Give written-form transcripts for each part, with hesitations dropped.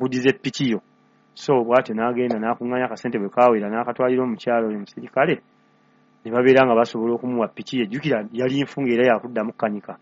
Akuddize piki yo. So bw'atyo n'agenda n'akuŋŋaanya akasente, bwe kaawera n'akatwalira omukyala oyo omusirikale, ne babeera nga basobola okumuwa piki ye. Jjukira yali nfu ng'era yakuddamu kukanika.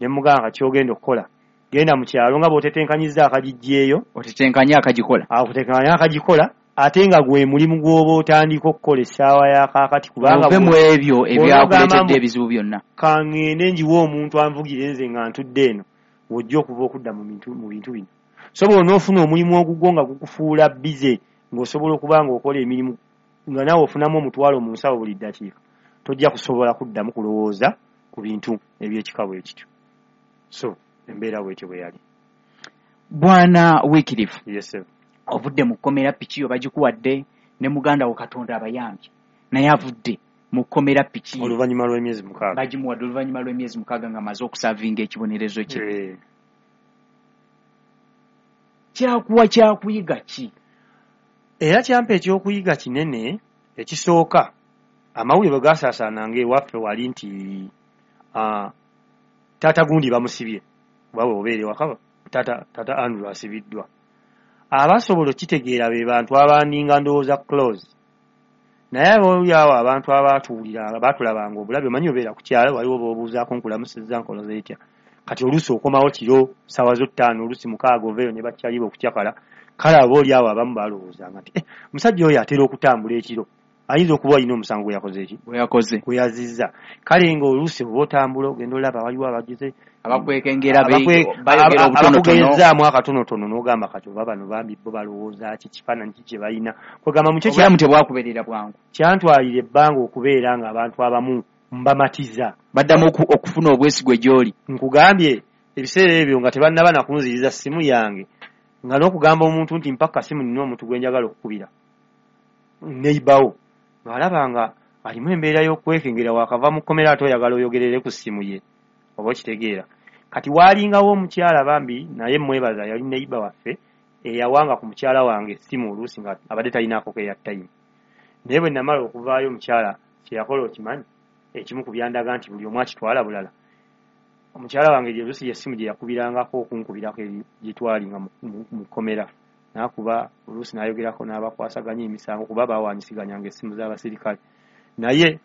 Ne mugamba, kati ky'ogenda okukola, genda mu kyalo nga bw'otetenkanyizza akagijjeeyo, otetenkanye akagikola, akutetenkanye akagikola, ate nga gwe mulimu gw'oba otandika okukola essaawa ya kaakati, kubanga ove mu ebyo ebyakuleetedde ebizibu byonna. Kaŋŋende ngiwe omuntu anvugire nze nga ntudde eno, w'ojja okuva okudda mu bintu bino. So bw'onoofuna omulimu ogugwo nga gukufuula bize, ng'osobola okuba ng'okola emirimu nga naawe ofunamu 1000 mu nsawo buli ddakiika, tojja kusobola kuddamu kulowooza ku bintu eby'ekika bwe kityo. So embeera bwetyo bwe yali. Bwana Wycliffe, Yes, sir. ovudde mu kkomera, piki yo bagikuwadde, ne muganda wo Katonda abayambye, naye avudde mu kkomera, piki ye oluvannyuma lw'emyezi 6 bagimuwadde oluvannyuma lw'emyezi 6 ng'amaze okuservinga ekibonerezo kye. Kyakuwa kyakuyiga ki? Era kyampa ekyokuyiga kinene. Ekisooka, amawulire bwe gasaasaananga ewaffe wali nti taata gundi bamusibye, oba bwe obeera ewaka taata Andrew asibiddwa, abasobola okitegeera be bantu abandinga ndowooza close. Naye abooli awo abantu abaatuwulira, baatulabanga obulabe, omanyi obeera ku kyalo, waliwo b'obuuzaako, nkulamusizza, nkoloze etya. Kati oluusi okomawo kiro ssaawa zo 5, oluusi 6, oveeyo ne bakyaliba okucakala. Kale aba oli awo abamu balowoozanga nti, "Eh, omusajja oyo atera okutambula ekiro, ayinza okuba alina omusango gwe yakoze eki Bwe yakoze. gwe yazizza." Kale ng'oluusi oba otambula ogenda olaba waliwo abagize abakwekengera, bayogera obutonotono. Abakugezaamu akatonotono, n'ogamba kati oba bano bambi bo balowooza ki, kifaananyi ki kye balina? Kwegamba mukyo Obulamu tebwakubeerera bwangu. Kyantwalira ebbanga okubeera ng'abantu abamu mbamatiza. Baddamu okufuna obwesigwe gy'oli. Nkugambye, ebiseera ebyo nga tebannaba nakunziriza ssimu yange, nga n'okugamba omuntu nti mpa kasimu nina omuntu gwe njagala okukubira, neibawo ng'alaba nga alimu embeera y'okwekengera, wakava mu kkomera ate oyagala oyogerere ku ssimu ye, oba okitegeera. Kati waalingawo omukyala bambi, naye mwebaza, yali neighbour waffe, eyawanga ku mukyala wange essimu oluusi nga abadde talinaako ke airtime. Naye bwe namala okuvaayo, omukyala kyeyakola okimanyi? Ekimu ku byandaga nti buli omu akitwala bulala, omukyala wange gye oluusi essimu gye yakubirangako okunkubirako eri gye twali nga mu kkomera, n'akuba oluusi n'ayogerako n'abakwasaganya emisango, kuba baawanyisiganyanga essimu z'abasirikale. Naye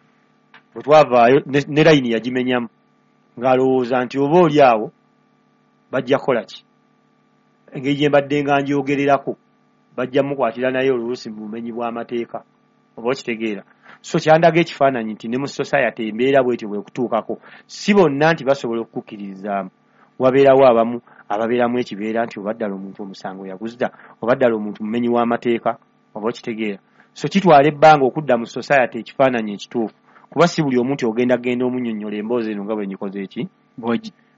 bwe twavaayo ne layini yagimenyamu, ng'alowooza nti oba oli awo bajja kukola ki, engeri gye mbadde nga njogererako bajja mukwatira naye oluusi mu bumenyi bw'amateeka, oba okitegeera. So kyandaga ekifaananyi nti ne mu society embeera bwetyo bwekutuukako, si bonna nti basobola okukukkirizaamu. Wabeerawo abamu ababeeramu ekibeera nti oba ddala omuntu omusango yaguzza, oba ddala omuntu mumenyi w'amateeka, oba okitegeera. So kitwala ebbanga okudda mu society ekifaananyi ekituufu, kuba si buli omuntu ogenda genda omunnyonnyola emboozi eno nga bwe ngikoze eki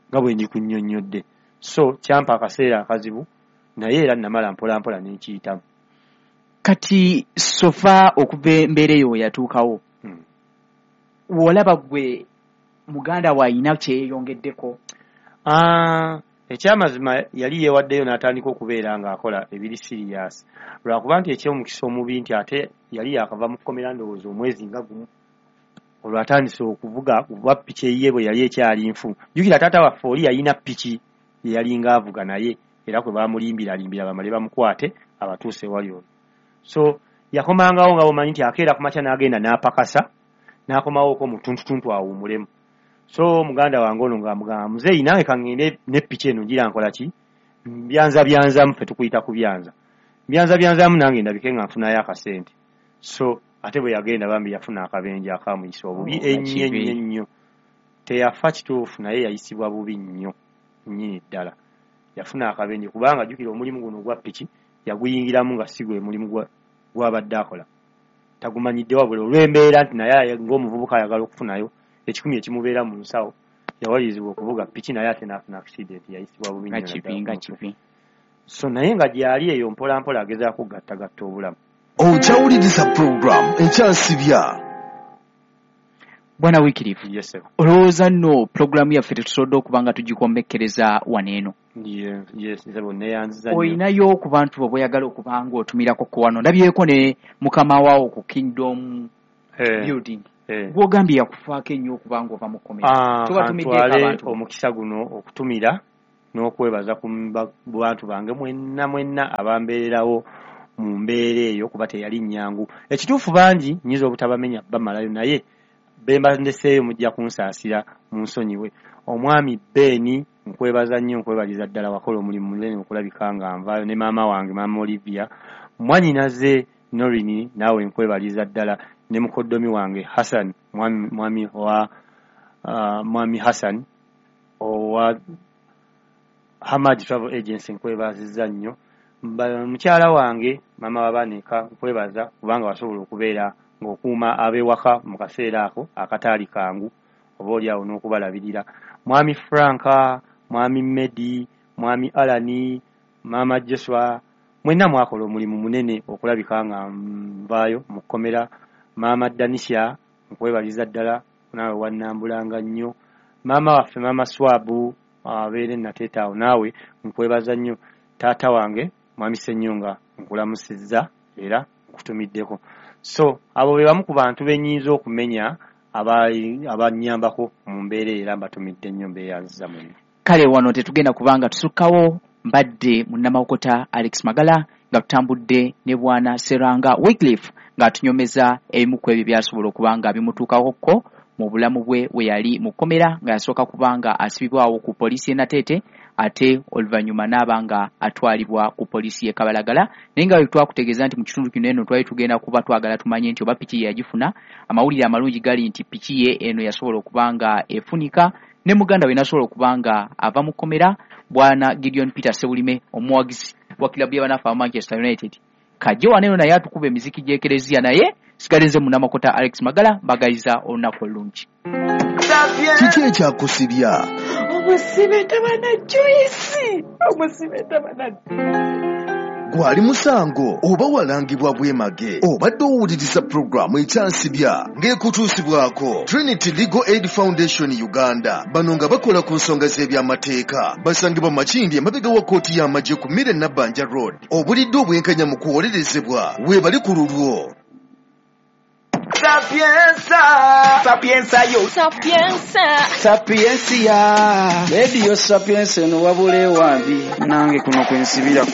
nga bwe ngikunnyonnyodde. So kyampa akaseera akazibu, naye era namala mpola mpola nenkiyitamu. Kati so far, okuva embeera eyo we yatuukawo, w'olaba gwe muganda we ayina kyeyeyongeddeko? Ah, ekyamazima yali yeewaddeyo n'atandika okubeera ng'akola ebiri serious, lwakuba nti ekyomukisa omubi nti ate yali yakava mu kkomera, ndowooza omwezi nga gumu, olwo atandise okuvuga, kuba piki eyiye bwe yali ekyali nfu. Jjukira taata waffe oli yalina piki ye yalinga avuga, naye era kwe bamulimbiralimbira bamale bamukwate abatuuse wali olwo. So yakomangawo nga bwomanyi nti akeera ku makya n'agenda n'apakasa n'akomawooko mu ttuntutuntu awummulemu. So muganda wange ono ng'amugamba, "Muzeeyi, nange kaŋŋende ne piki eno, ngira nkola ki, mbyanza byanzamu, ffe tukuyita ku byanza, mbyanza byanzamu, nange ndabike nga nfunayo akasente." So ate bwe yagenda bambi yafuna akabenje akamuyisa obubi. Oh, ennyo kibi. Ennyo ennyo. Teyafa kituufu, naye yayisibwa bubi nnyo nnyini ddala. Yafuna akabenje kubanga jjukira omulimu guno ogwa piki yaguyingiramu nga si gwe mulimu gwabadde akola, tagumanyidde, wabula olw'embeera nti naye ng'omuvubuka ayagala okufunayo 1,000 ekimubeera mu nsawo, yawalirizibwa okuvuga piki, naye ate n'afuna accident, yayisibwa bubi nga nnyo kibi naddala nga ku mutwe. Kibi. So naye nga gyali eyo mpola mpola agezaako okugattagatta obulamu. Okyawuliriza puroguramu Ekyansibya. Bwana Wycliffe, Yes, sir. olowooza nno pulogulaamu yaffe tetusobodde okuba nga tugikomekkereza wano eno? Yes, nze neyanziza nnyo. Oyinayo ku bantu bo bweyagala okuba nga otumirako ku wano? Ndabyeko ne mukama waawo ku Kingdom Building, gwogambye yakufaako ennyo okuba nga ova mu kkomera. Ah, Tubatumiddeko kantwale abantu. omukisa guno okutumira n'okwebaza ku bantu bange mwenna mwenna abambeererawo mu mbeera eyo, kuba teyali nnyangu. Ekituufu bangi nnyinza obutabamenya bamalayo, naye bemba ndeseeyo mujja kunsaasira munsonyiwe. Omwami Beni nkwebaza nnyo, nkwebaliza ddala, wakola omulimu munene okulabika nga nvaayo, ne maama wange maama Olivia, mwannyinaze Norini naawe nkwebaliza ddala, ne mukoddomi wange Hassan, mwami Hassan owa Hamad Travel Agency nkwebazizza nnyo. Mukyala wange maama w'abaana nkwebaza kubanga wasobola okubeera ng'okuuma ab'ewaka mu kaseera ako akataali kangu, oba oli awo n'okubalabirira. Mwami Franka, mwami Medi, mwami Alani, maama Joshua, mwenna mwakola omulimu munene okulabika nga nvaayo mu kkomera. Maama Danisha nkwebaliza ddala, naawe wannambulanga nnyo. Maama waffe maama Swabu abeere Nateete awo, naawe nkwebaza nnyo. Taata wange mwami Ssenyonga nkulamusizza era nkutumiddeko. So abo be bamu ku bantu be nnyinza okumenya abannyambako mu mbeera era mbatumidde nnyo, mbeeyanziza mwenna. Kale wano tetugenda kubanga tusukkawo. Mbadde munnamawokota Alex Magala nga tutambudde ne bwana Seranga Wycliffe ng'atunyomeza ebimu ku ebyo byasobola okuba nga bimutuukakoko mu bulamu bwe we yali mu kkomera, nga yasooka kubanga asibibwawo ku poliisi y'e Nateete, ate oluvannyuma n'aba nga atwalibwa ku poliisi y'e Kabalagala. Naye nga bwe twakutegeeza nti mu kitundu kino eno twali tugenda kuba twagala tumanye nti oba piki ye yagifuna. Amawulire amalungi gali nti piki ye eno yasobola okuba nga efunika, ne muganda we n'asobola okuba nga ava mu kkomera, bwana Gideon Peter Sebulime, omuwagizi wa kilabu y'abanafu aba Manchester United. Kajje wano eno naye atukuba emiziki gy'ekereziya, naye sigadde nze munnamawokota Alex Magala, mbagaliza olunaku olulungi. Kiki ekyakusibya? Omusibe tabana Joyce, omusibe tabana. Gwali musango oba walangibwa bwemage? Obadde owuliriza pulogulaamu Ekyansibya ng'ekutuusibwako Trinity Legal Aid Foundation Uganda. Bano nga bakola ku nsonga z'ebyamateeka, basangibwa Makindi emabega wa kkooti y'amagye ku Mire Nabbanja Road. Obulidde obwenkanya mu kuwolerezebwa weebali ku lulwo. Sapienza, sapienza yo, Sapienza, sapiencia. Radio Sapienza eno wabula ewambi nange kuno kwensibira.